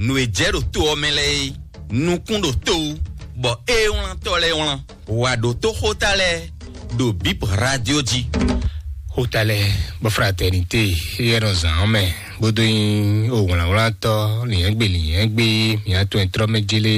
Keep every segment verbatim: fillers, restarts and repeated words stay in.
Nǔ e jɛ ɖo to ɔ́ mɛ lɛ́ɛ é, nukún ɖo to wú, bɔ ée wlántɔ́ lɛ́ɛ wlán. Wǎ ɖótó xóta lɛ́ɛ ɖo Bib Radio jí. Xóta lɛ́ɛ bɔ fraternité é nɔ zǎn ɔ́ mɛ, bó dó nyí owlǎnwlántɔ́ lǐnyɛ́gbe lǐnyɛ́gbe, mǐ atɔn e tlɔ́ mɛ jélé,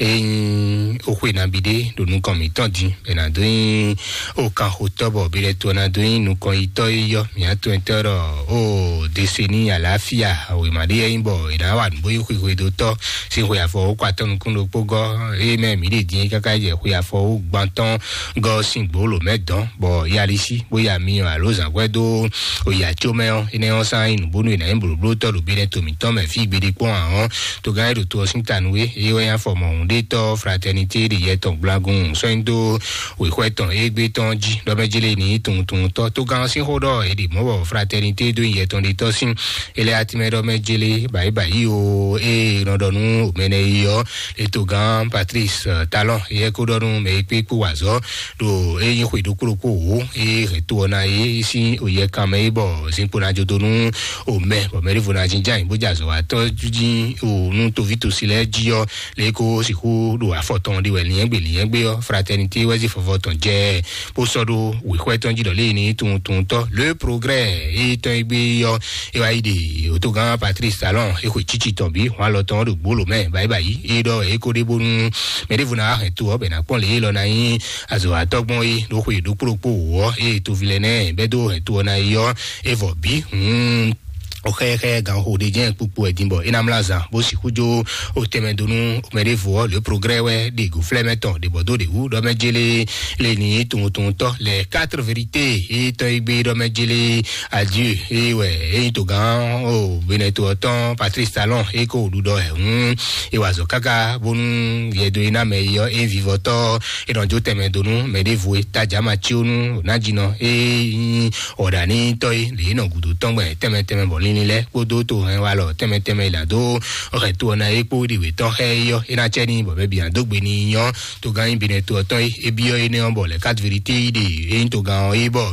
é nyí oxwe nabí ɖé ɖo nukɔn mǐtɔn din, bɛ ná dó nyí okanxotɔ́ bɔ bi lɛ́ to ná dó nyí nukɔn yitɔ́ e yɔ mǐ atɔn e tɔ́ ɖɔ o deseni alafia wěma ɖé yɛ nyí bɔ è nǎ wa nǔ bó nyí xwixwedótɔ́ sín xwe afɔ wó kɔ atɔ́ nukún ɖokpó gɔ́, é mɛ mǐ ɖe din káká jɛ xwe afɔ wó gbantɔ́ gɔ́ sín gbǒ lǒ mɛ dɔn, bɔ yalisi bó ya myɔ alo zǎngbɛ́ dó oyi acó mɛ ɔ́, énɛ́ ɔ́ sán nyí nǔbónú e nǎ nyí blǒblótɔ́ ɖo bínɛ́ to mǐtɔn mɛ fí gbeɖé kpɔ́n ǎ ɔ́, togán e ɖo to ɔ́ sín ta nú é, é wɛ nyí afɔ mɔ̌hunɖétɔ́ fraternité ɖe yɛ tɔn gblagun sɔ́ nyi dó wěxwɛ́ tɔn égbé tɔn jí ɖɔ mɛ jélé ní tunwuntunwuntɔ́. Togán ɔ́ sín xó ɖɔ è ɖi mɔ̌ bɔ fraternité dó nyi yɛ tɔn ɖe tɔ́ sín. É lɛ́ atímɛ ɖɔ mɛ jélé bǎyi bǎyi o, ée nɔ ɖɔ nú mɛnɛ yi ɔ́, é togán Patrice Talon, éyɛ́ kó ɖɔ nú mɛ e kpé kpó wa azɔ̌ ɖo é nyí xwe ɖokpó ɖokpó wǒ, é hɛn to ɔ́ ná é sín oyɛ kan mɛ é bɔ zinkpo ná jó dó nú omɛ bɔ mɛ ɖěvo ná jínjɔ́n ayǐ bó jɛ azɔ̌watɔ́ jí o nú toví tosi lɛ́ɛ jí ɔ́, lě kó sixú ɖo afɔ tɔn ɖi wɛ lǐnyɛ́gbe lǐnyɛ́gbe ɔ́, fraternité wɛ zí fɔfɔ tɔn jɛ bó sɔ́ ɖó wěxwɛ́ tɔn jí ɖɔ lě ní tunwuntunwuntɔ́ le progrès é tɔn é gbé ɔ́, é wá yi ɖe òtógán Patrice Talon é xwe tsítsi tɔn bí hɔn alɔ tɔn ɖo gbóló mɛ báyìí báyìí é ɖɔ é kó ɖe bónú mɛ ɖěvo ná wá hɛn to ɔ́ bɛ ná kpɔ́n lě é lɔ ná nyí azɔ̌watɔ́ gbɔn é ɖó xwe ɖokpó ɖokpó wǒ ɔ́ é toví lɛ́ɛ nɛ́ bɛ́ dó hɛn to ɔ́ ná yi ɔ́ é vɔ bí hǔn. Oxɛxɛ ganxo ɖe jɛ́n kpukpu wɛ din bɔ é ná mlá zan bó sixú jó o tɛnmɛ dó nú mɛ ɖěvo ɔ́ le progrès wɛ ɖe go flɛ́ mɛ tɔn ɖe bɔ dó ɖe wú ɖɔ mɛ jélé lé ní tunwuntunwuntɔ́ lɛ quatre vérité é tɔn é gbé ɖɔ mɛ jélé adieu é wɛ é nyí togán o benɛto ɔ́ tɔn Patrice Talon é kó ɖuɖɔ ɛ hǔn é wa azɔ̌ káká bónú yɛdo é ná mɛ é ɔ́ é vivɔtɔ́ é nɔ jó tɛnmɛ dó nú mɛ ɖěvo é tajà ma cí ó nú ná jinɔ é nyí ɔ̀ɖǎnítɔ́ é lě é nɔ gǔdo tɔn gbɛn tɛnmɛ tɛnmɛ bɔ linlin lɛ́ɛ kpódó to hɛn walɔ tɛnmɛ tɛnmɛ é ná dó ɔ́ hɛn to ɔ́ ná é kpó ɖi wětɔ́ xá é ɔ́ é ná cɛ ní bɔ mɛ bǐ ná dó gbe ní nyɔ́ togán nyi binɛ to ɔ́ tɔn é é byɔ́ énɛ́ ɔ́ bɔ lɛ quatre vérité yi ɖe é nyí togán ɔ́ é bɔ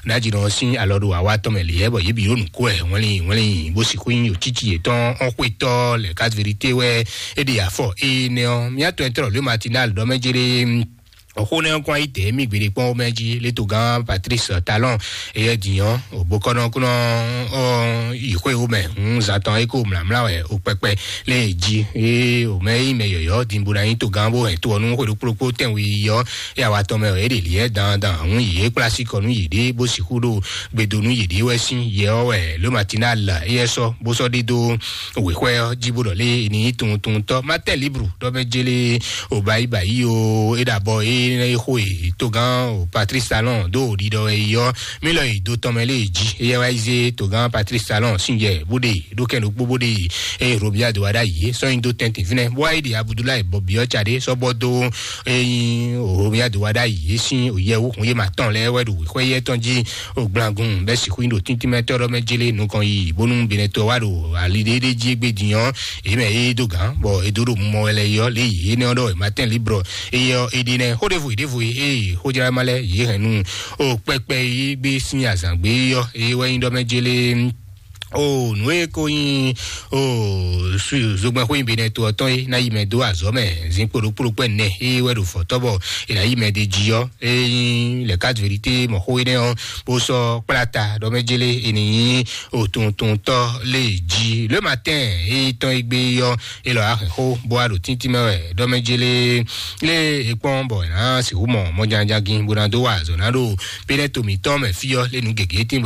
ná jinɔ ɔ́ sín alɔ ɖo awa tɔn mɛ lě ɛ bɔ yě bǐ ɖo nǔ kó ɛ wɛnlin wɛnlin bó sixú nyí òtítì yětɔn ɔ́ xwetɔ́ lɛ quatre vérité wɛ é ɖe afɔ énɛ́ ɔ́ mía tɔn ɛ tlɔ lě matinal ɖɔ mɛ jéré. Xó nɛ́ ɔ́ kɔn ayí tɛ̌ mì gbeɖé kpɔ́n mɛ jí létogán Patrice Talon éyɛ́ dǐnyɔ́ òbókɔ́nɔkúnɔ ɔ́ yi xwé wó mɛ. Hǔn zan tɔn é kó mlǎmlá wɛ o kpɛkpɛ lé jí é o mɛ yí mɛ yɔ̌yɔ́ din bó ná nyí togán bó hɛn to ɔ́ nú xwé ɖokpó ɖokpó tɛ́nwe yi ɔ́ é awa tɔn mɛ ɔ́ é ɖe lǐɛ dandan. Hǔn yě kplá sí kɔ nú yěɖée bó sixú ɖo gbedo nú yěɖée wɛ sín yɛ ɔ́ wɛ ló matinal éyɛ́ sɔ́ bó sɔ́ ɖe dó wěxwɛ ɔ́ jí bó ɖɔ lé ní tunwuntunwuntɔ́ Martin Libre ɖɔ mɛ jélé o bayi bayi o é ɖo abɔ é é xo e togán o Patrice Talon ɖó o ɖiɖɔ wɛ yi ɔ́ mí lɔ yi do tɔn mɛ lé jí éyɛ́ wá yi zé togán Patrice Talon sín yɛ bó ɖe ɖó kɛn ɖokpó bó ɖe yi eye Romuald wá ɖ'ayǐ sɔ́ nyi dó tɛntin fínɛ́ bó wá yi ɖi Abudulayi bɔbí ɔ́ tsaɖé sɔ́ bɔ dó eyin Romuald wá ɖ'ayǐ sín òyɛwú hun yé ma tɔn lɛ́ɛ wɛ ɖo wěxwɛ yɛ tɔn jí o gblangun bɛ sixú nyi ɖo tíntímɛtɔ́ ɖɔ mɛ jélé nukɔn yi bónú benɛtɔ wá ɖo ali ɖéɖé jí égbé din ɔ́ èyí mɛ é dó gǎn bɔ é dó ɖo mumɔ wɛ lɛ yi ɔ́ lě yi énɛ́ ɔ́ ɖɔ è ma tɛn librɔ éyɛ ɔ́ é ɖi nɛ́ xó ɖěvo yi ɖěvo é xójlá ma lɛ́ yě hɛn nu o kpɛkpɛ yi gbé sín azǎn gbé ɔ́ é wɛ nyí ɖɔ mɛ jélé o nǔ e ko nyí o zogbɛn xó nyi benɛ to ɔtɔn é ná yi mɛ dó azɔ̌ mɛ zinkpo ɖokpó ɖokpó ɛnɛ é wɛ ɖo fɔtɔ́ bɔ è nǎ yi mɛ ɖ'é jí ɔ́ é nyí lɛ quatre vérité mɔ xó énɛ́ ɔ́ bó sɔ́ kplá ta ɖɔ mɛ jélé è nǐ nyí o tuntuntɔ́ lé jí le matin é tɔn é gbé ɔ́ é lɔ axɛ xó bó wá ɖo tíntín mɛ wɛ ɖɔ mɛ jélé lé é kpɔ́n bɔ è nǎ sixú mɔ mɔjánjagin bó ná dó wa azɔ̌ ná ɖo pénɛ́ to mǐtɔn mɛ fí ɔ́ lé nǔ gěgé tín